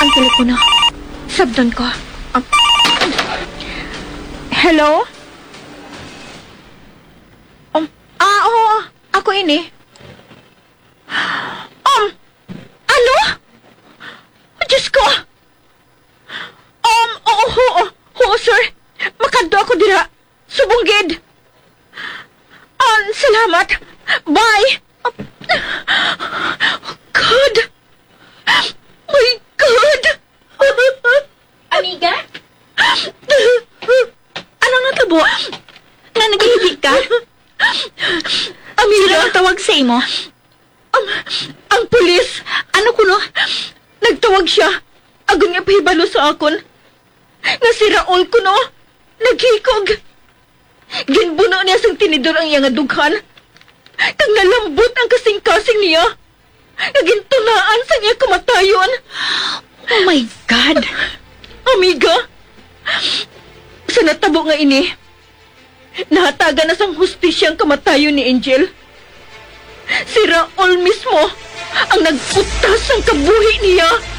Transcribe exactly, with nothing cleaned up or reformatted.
Ang telepono. Sabton ko. Um, hello? Um, ah, oo. Ako ini. Um, ano? Diyos ko! Um, oo, oo, oo, sir. Makadto ako dira. Subong gid. Ah, salamat. Bye. God. My God. Amiga? Ano natabo? Nga naghihi ka? Amiga? Sino ang tawag sa imo? Ang, ang pulis. Ano kuno? Nagtawag siya. Agon nga pahibalo sa akon nga si Raul kuno naghikog. Ginbuno niya sang tinidor ang iya nga dughan, kag nalambot ang kasing-kasing niya, nga gintunaan sang iya kamatayon. Oh my God! Amiga, sa natabo nga ini, nahatagan na sang hustisya ang kamatayon ni Angel. Si Raul mismo ang nagkutas sang kabuhi niya.